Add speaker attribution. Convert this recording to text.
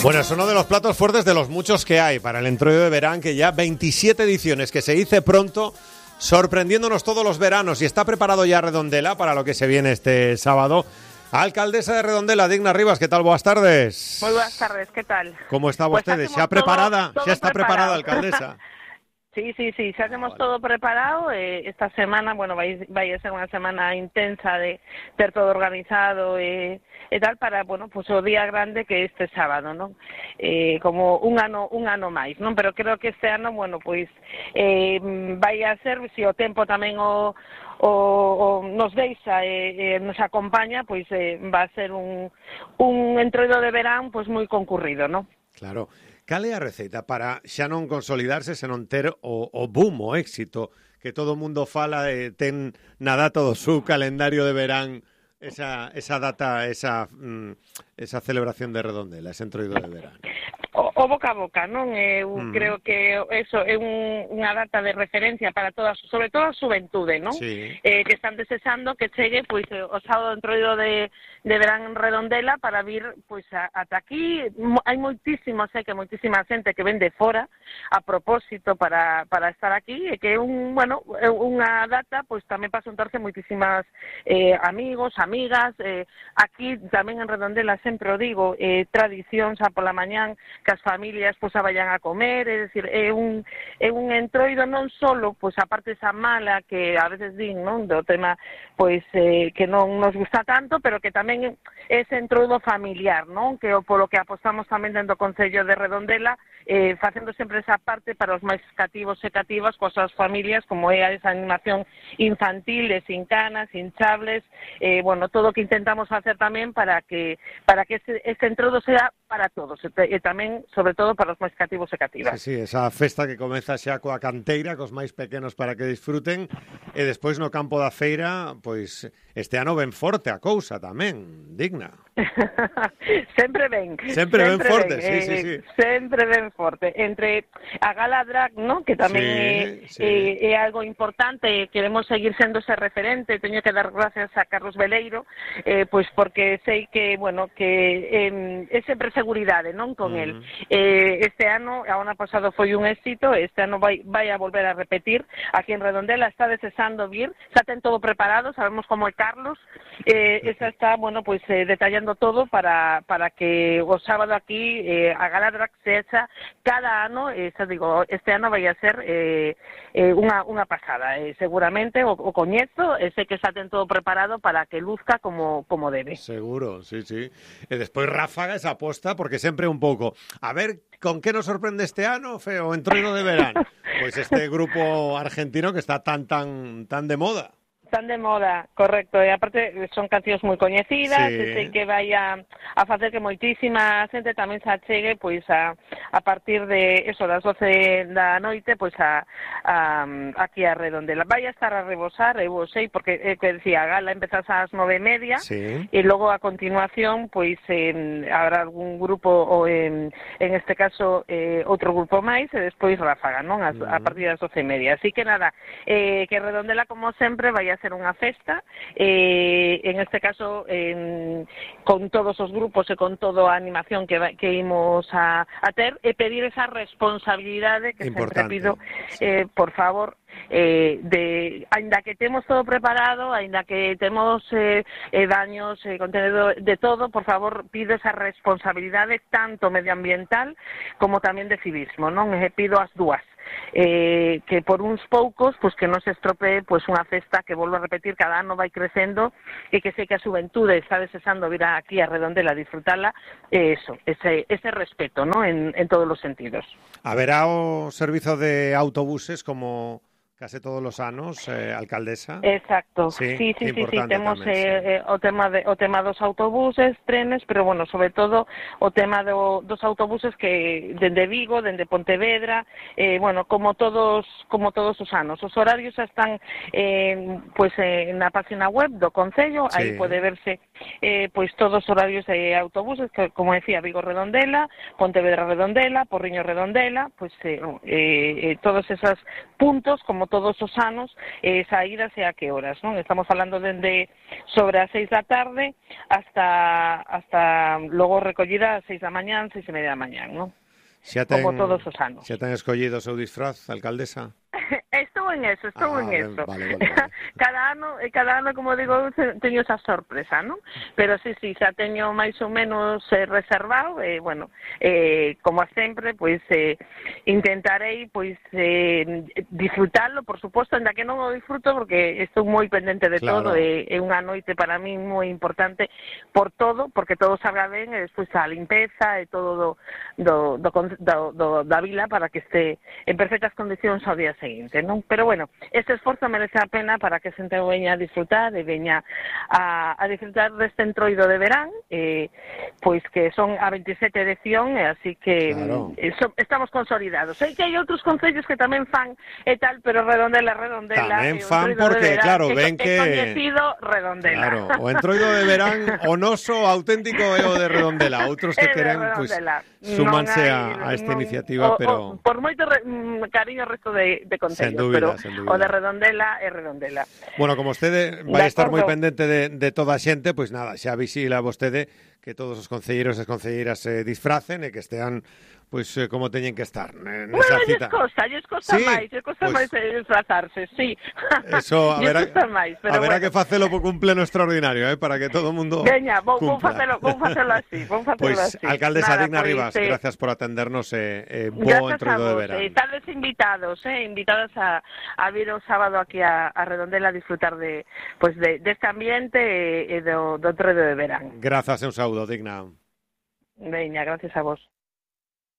Speaker 1: Bueno, es uno de los platos fuertes de los muchos que hay para el Entroido de verano, que ya 27 ediciones, que se dice pronto, sorprendiéndonos todos los veranos. Y está preparado ya Redondela para lo que se viene este sábado. Alcaldesa de Redondela, Digna Rivas, ¿qué tal? Buenas tardes.
Speaker 2: Muy buenas tardes, ¿qué tal?
Speaker 1: ¿Cómo está
Speaker 2: Pues
Speaker 1: usted? ¿Se ha preparada?
Speaker 2: todo
Speaker 1: ¿Ya está preparada,
Speaker 2: preparado.
Speaker 1: alcaldesa?
Speaker 2: Sí, ya tenemos todo preparado. Esta semana, bueno, va a ser una semana intensa de ter todo organizado e tal para, bueno, pues o día grande que este sábado, ¿no? Como un ano máis, ¿non? Pero creo que este ano, bueno, pois vai a ser, se o tempo tamén o nos deixa nos acompaña, pois va a ser un entroido de verán pois moi concurrido, ¿no?
Speaker 1: Claro. Cal é a receita para xa non consolidarse, senón ter o boom, o éxito, que todo o mundo fala e ten na data do seu calendario de verán esa data, esa celebración de Redondela, ese entroido de verán?
Speaker 2: O boca a boca, non? Creo que eso é unha data de referencia para todas, sobre todo a xuventude, non?
Speaker 1: Sí.
Speaker 2: Que están desexando que chegue pois o sábado entroido de verán en Redondela para vir pois ata aquí. Hai moitísima xente que ven de fora a propósito para estar aquí, e que é unha data pois tamén para xuntarse moitísimas amigos, amigas. Aquí tamén en Redondela sempre o digo, tradición xa pola mañán que as familias pois a vayan a comer, é dicir, é un entroido non solo pois a parte esa mala que a veces din, non, do tema pois que non nos gusta tanto, pero que tamén é ese entroido familiar, non, que polo que apostamos tamén dentro do Concello de Redondela, facendo sempre esa parte para os máis cativos e cativas coas súas familias, como é esa animación infantil, sin canas, hinchables, bueno, todo o que intentamos facer tamén para que este entroido sea para todos, e tamén, sobre todo, para os máis cativos e cativas.
Speaker 1: Sí, esa festa que comeza xa coa canteira, cos máis pequenos para que disfruten, e despois no campo da feira, pois, este ano ben forte a cousa tamén, Digna.
Speaker 2: Sempre ben
Speaker 1: forte, sí.
Speaker 2: Sempre ben forte. Entre a Gala Drag, ¿no?, que tamén é algo importante, queremos seguir sendo ese referente. Teño que dar gracias a Carlos Veleiro, pois porque sei que, bueno, que é sempre seguridade, non, con el. Este ano, a ano pasado foi un éxito, este ano vai a volver a repetir aquí en Redondela. Está desexando vir, xa ten todo preparado, sabemos como é Carlos, esa está, bueno, pois detallando todo para que o sábado aquí a Gala Drag se echa cada ano. Xa digo, este ano vai a ser unha pasada, seguramente o coñezo, sei que xa ten todo preparado para que luzca como debe.
Speaker 1: Seguro, sí. E despois ráfaga esa aposta, porque sempre un pouco, a ver, con que nos sorprende este ano, o entroido de verán? Pois este grupo argentino que está tan de moda.
Speaker 2: Tan de moda, correcto, e aparte son cancións moi coñecidas, sei que vai a facer que moitísima xente tamén se achegue pois a partir de eso, das 12 da noite, pois aquí a Redondela. Vai a estar a rebosar, eu sei, porque que decía, a gala empezas ás 9:30, e logo a continuación pois habrá algún grupo, ou en este caso outro grupo máis, e despois ráfaga, non, a partir das 12:30. Así que nada, que Redondela, como sempre, vai a ser unha festa, en este caso con todos os grupos e con toda a animación que imos a ter, e pedir esa responsabilidade que sempre pido, por favor, aínda que temos todo preparado, aínda que temos baños, contenedor, de todo, por favor, pido esa responsabilidade tanto medioambiental como tamén de civismo, non? Pido as dúas. Que por uns poucos, pois que non se estropee pois unha festa que, volvo a repetir, cada ano vai crecendo, e que sei que a xuventude está desexando vir aquí a Redondela a disfrutarla, ese respeto, ¿no?, en todos os sentidos.
Speaker 1: Haberá o servizo de autobuses como case todos os anos, alcaldesa?
Speaker 2: Exacto, sí, temos o tema dos autobuses, trenes, pero, bueno, sobre todo o tema dos autobuses que dende Vigo, dende Pontevedra, bueno, como todos os anos. Os horarios están pois na página web do Concello, aí pode verse pois todos os horarios de autobuses, que, como decía, Vigo Redondela, Pontevedra Redondela, Porriño Redondela, pois todos esos puntos, como todos os anos, saídas e a que horas, non? Estamos falando dende sobre as 6 da tarde hasta logo recollida ás 6 da mañán, 6:30 da mañán, non? Como todos os anos.
Speaker 1: Xa ten escollido o seu disfraz, alcaldesa?
Speaker 2: Estou en eso.
Speaker 1: Vale.
Speaker 2: Cada ano, como digo, teño esa sorpresa, non? Pero sí, xa teño máis ou menos reservado, como sempre, pois intentarei pois disfrutarlo, por suposto, ainda que non o disfruto porque estou moi pendente de todo, é unha noite para mí moi importante por todo, porque todo salga ben, e despois a limpeza e todo da vila para que este en perfectas condicións ao día seguinte, non? Pero bueno, este esforzo merece a pena para que a xente veña a disfrutar e veña a disfrutar deste entroido de verán, pois que son a 27 edición, e así que estamos consolidados. Sei que hai outros concellos que tamén fan e tal, pero Redondela
Speaker 1: tamén fan porque, claro, ven que
Speaker 2: coñecido Redondela.
Speaker 1: Claro, o entroido de verán o noso auténtico é o de Redondela. Outros que queren, pois, súmanse a esta iniciativa, pero
Speaker 2: por moito cariño ao resto de concellos, pero o de Redondela é Redondela.
Speaker 1: Bueno, como vostede vai estar moi pendente de toda a xente, pois nada, xa visila vostede que todos os concelleiros e as concelleiras se disfracen e que estean pois como teñen que estar nesa cita.
Speaker 2: Lles costa máis disfrazarse, sí.
Speaker 1: Eso, haberá que facelo por cumpleno extraordinario, para que todo o mundo
Speaker 2: veña, vou facelo así,
Speaker 1: Pois, alcaldesa Digna Rivas, gracias por atendernos e bo entroido de verán.
Speaker 2: Tales invitadas a vir o sábado aquí a Redondela a disfrutar deste ambiente e do entroido de verán.
Speaker 1: Grazas e un saúdo, Digna.
Speaker 2: Veña, gracias a vos.